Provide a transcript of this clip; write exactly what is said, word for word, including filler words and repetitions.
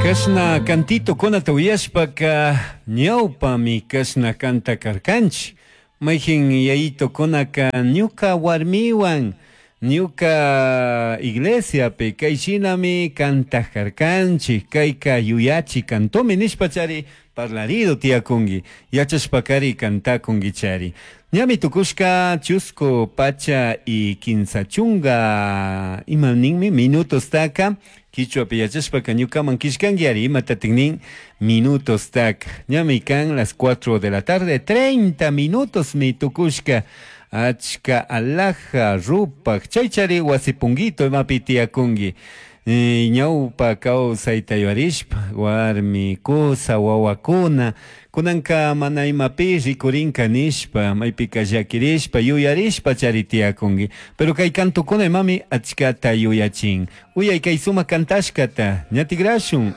Kashna cantitokunata uyashpaka ñawpami kashna kanta karkanchik. Mayjin yayitukunaka ñuka warmiwan ñuka iglesiapi kay shinami kantaq karkanchik, kayka yuyachi cantomi nishpachari parlarido tiyakunki, yachashpakari kantakunkichari. Ñami tukushka chusku pacha y kinsa chunga ima ninmi minutostaka quichuapi yachashpaka ñukaman killkanki ari imatatik nin minutostaka. Ñami kan las cuatro de la tarde treinta minutos mi tukushka achka alhaja rupak chaychari wasipunguito imapi tiyakunki. Eh, ñawpa kawsayta yuyarishpa warmi kusa wawakuna kunanka mana imapi rikurinka nishpa maypika llakirishpa yuyarishpa chari tiyakunki, pero kay kantukuna imami achkata yuyachin. Uyay kay sumak kantashkata ñatikrashun.